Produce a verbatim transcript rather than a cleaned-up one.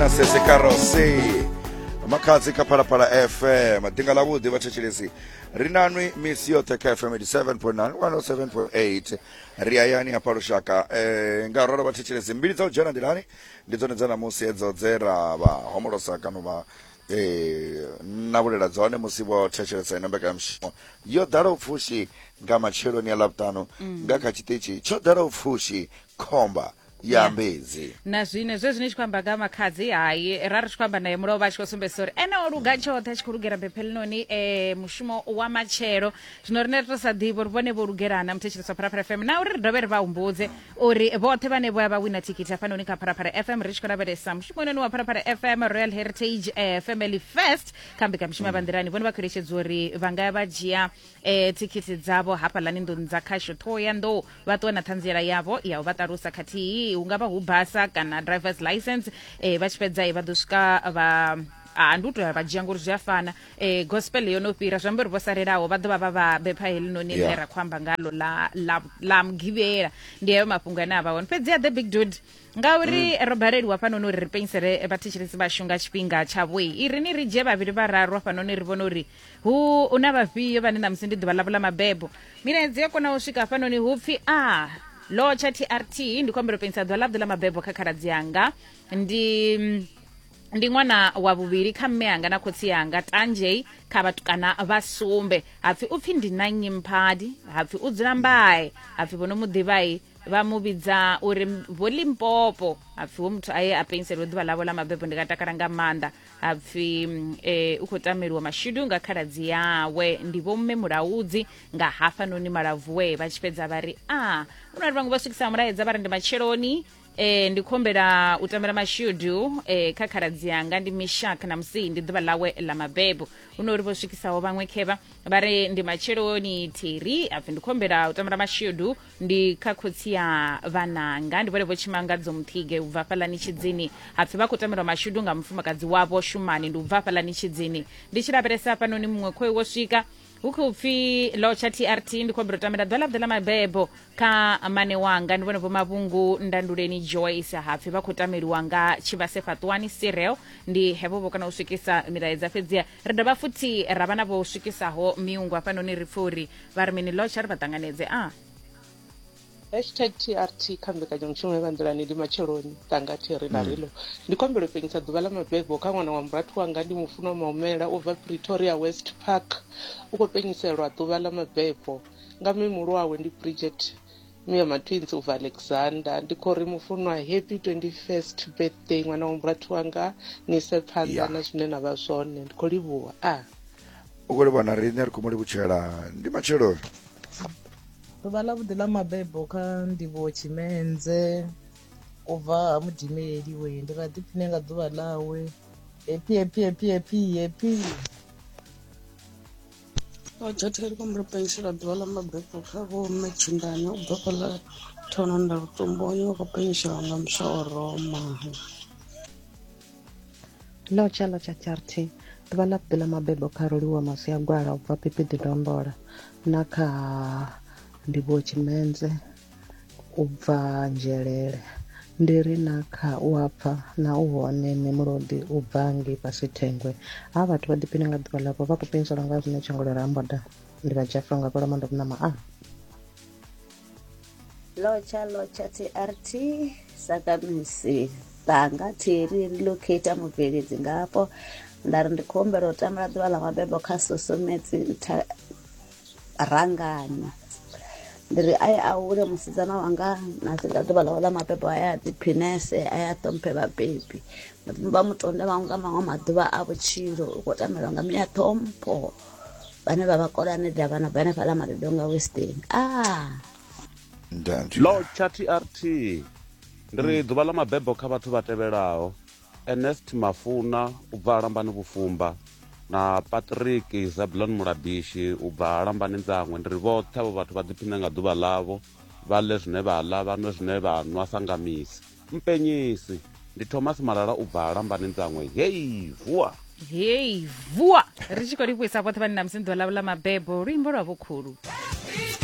na Sese Karose Makhadzi kha Phalaphala F M. Ḓinga ḽa vhuḓi vhathetshelesi ri nanwi misi yoṱhe kha F M eighty-seven point nine, one oh seven point eight. Ri hayani hafha lushaka. Eh, nga ralo vhathetshelesi mbili dza u dzhena nḓilani ndi dzone dza ṋamusi edzo dze ra vha homolosa kana vha eh navhulela dzone musi vho thetshelesa ino mbekanyamushumo yo ḓalaho pfushi nga matsheloni ya Ḽavhuṱanu nga kha tshiṱitshi tsho ḓalaho pfushi khomba ya Yeah. Mbedzi. Na zwine zwe zwine tshi khou amba nga Makhadzi, hai ra ri tshi khou amba naye mulovha a tshi khou sumbedzisa uri ene o luga tshoṱhe a tshi khou lugela bephelinoni eh, mushumo wa matshelo. Zwino rine ri to sa ḓivha uri vhone vho lugelana muthetshelesi wa Phalaphala F M, na uri ri dovhe ri vha humbudze uri vhoṱhe vhane vho ya vha wina thikhithi hafhanoni kha Phalaphala F M, ri tshi khou lavhelesa mushumo inoni wa Phalaphala F M Royal Heritage eh, Family Fest kha mbekanyamushumo ya Vhanḓilani. Vhone vha khou eletshedzwa uri vha nga ya vha dzhia eh, thikhithi dzavho hafhaḽani nḓuni dza khasho Thohoyandou, vha ṱuwe na ṱhanziela yavho ya u vha ṱalusa khathihi hu nga vha hu basa kana driver's license. eh, vha tshi fhedza vha ḓo swika vha a ndi u tou ya vha dzhia ngori zwi a fana. eh, gospel yo no fhira, zwi amba uri vho salelaho vha ḓo vha vha vha bepha helinoni ḽine Yeah. ra khou amba ngalo ḽa ḽa ḽa mugivhela. Ndi hayo mafhungo ane a vha hone. Fhedzi ya the big dude ngauri ro baleliwa hafhanoni uri ri penyisele vhathetshelesi vhashu nga tshifhinga tshavho, i ri ni ri dzhie vhavhili vhararu hafhanoni ri vhone uri hu na vhafhio vhane ṋamusi ndi ḓuvha ḽavho ḽa mabebo. Milaedza ya kona u swika hafhanoni hu pfi a lotsha T R T, ndi khou humbela u penyisa ḓuvha ḽavhuḓi ḽa mabebo kha khaladzi yanga, ndi ndi ṅwana wa vhuvhili kha mme anga na khotsi yanga Tanjei kha vhatukana vha sumbe. Hapfi upfi ndi na Nyimphadi, hapfi u dzula Mbae, hapfi vho no mu ḓivhai vha mu vhidza uri vho Limpopo. Hapfi wo muthu aye a penselwe ḓuvha ḽavho ḽa mabebo, ndi nga takala nga maanḓa. Hapfi eh, u khou tameliwa mashudu nga khaladzi yawe, ndi vho mme Mulaudzi nga hafhanoni Malavuwe. Vha tshi fhedza vha ri a hu na uri vhaṅwe vha swikisa mulaedza vha ri ndi matsheloni, eh ndi khombela u tambela mashudu eh kha khaladzi yanga ndi Mishak na musi ndi ḓuvha ḽawe ḽa mabebo. Hu no uri vho swikisaho vhaṅwe khevha vha ri ndi matsheloni Theri, apfi ndi khombela u tambela mashudu ndi kha khotsi ya vhananga, ndi vhone vho Tshimangadzo Muthige u bva fhaḽani Tshidzini. Hapfi vha khou tambelwa mashudu nga mufumakadzi wavho Shumani, ndi u bva fhaḽani Tshidzini. Ndi tshi lavhelesa hafhanoni muṅwe khoi wo swika hu khou pfi lotsha T R T, ndi khou humbela u tambela ḓuvha ḽavhuḓi ḽa mabebo kha mane wanga, ndi vhone vho Mavhungu Ndanduleni Joyce. Hapfi vha khou tameliwa nga Tshivhase Fhaṱuwani Cyril. Ndi hevho vho kana u swikisa milaedza. Fhedziha ri dovha futhi ra vha na vho swikisaho miungo hafhanoni, ri pfhe uri vha ri mini. Lotsha ri vha ṱanganedze. A Hashtag T R T kha mbekanyamushumo ya Vhanḓilani ndi matsheloni tanga Theri na Rilo. Ndi khombela u penyisa ḓuvha ḽa mabebo kha ṅwana wa murathu wanga ndi Mufunwa Maumela u bva Pretoria West Park. U khou penyiselwa ḓuvha ḽa mabebo nga muhulu wawe ndi Bridget Mia Matwins u bva Alexander. Ndi khou ri Mufunwa happy twenty-first birthday ṅwana wa murathu wanga, ni ise phanḓa Yeah. na zwine na vha zwone. Ndi khou livhuwa. A U khou livhuwa na riṋe ri khou mu livhutshela. Ndi matsheloni. Ḓuvha ḽavhuḓi ḽa mabebo kha Ndivho Tshimenze u bva ha Mudimeli we, ndi ra ḓiphine nga ḓuvha ḽawe. Happy happy happy happy happy. Lotsha Theri, khombela u penyisela ḓuvha ḽa mabebo kha vho mme Tshindani u bva fhaḽa Thononda Lutomboni, vha khou penyiselwa nga muswa wa Roma. Lotsha lotsha T R T, ḓuvha ḽavhuḓi ḽa mabebo kha Roliwa Masiagwala u bva Pipiḓi Dombola na kha Ndivho Tshimenze u bva Nzhelele. Ndi ri na kha u apfa na u hone Nemulodi u bva ngei fhasi Thengwe. Ha vhathu vha ḓiphine nga ḓuvha ḽavho, vha khou penyiselwa nga zwine Tshangolo Ramboda. Ndi vha Jafra nga fhala Mando Vhunama. A Lotsha lotsha T R T sakamisi tanga Theri relocate mubveledzi ngafho. Nda ri ndi khou humbela u tambela ḓuvha ḽa mabebo kha Sosometsi Ntha Rangani. Ndi ri aye a hule musidzana wanga na sika ḓuvha ḽawe ḽa mabebo, a ya ḓiphinese, a ya ṱhomphe vhabebi, vha mu tonde vhaṅwe nga maṅwe maḓuvha a vhutshilo. U khou tamelwa nga miya ṱhompho vhane vha vha kolane davhana bva hanefhaḽa Madodonga Western. Ah Lotsha T R T, ndi ri ḓuvha ḽa mabebo kha vhathu vha tevhelaho: Ernest Mafuna u bva Lambani Vhufumba na Patrick Zablon Mulabishi u bva Lambani Ndzangwe. Ndi ri vhoṱhe avho vhathu vha ḓiphine nga ḓuvha ḽavho, vha ḽe zwine vha ḽa, vha nwe zwine vha nwa sa nga misi. Mpenyisi ndi Thomas Malala u bva Lambani Ndzangwe. Hei vuwa hei vuwa. Ri tshi khou livhuisa vhoṱhe vhane ṋamusi ndi ḓuvha ḽavho ḽa mabebo. Luimbo lwa vhokhulu.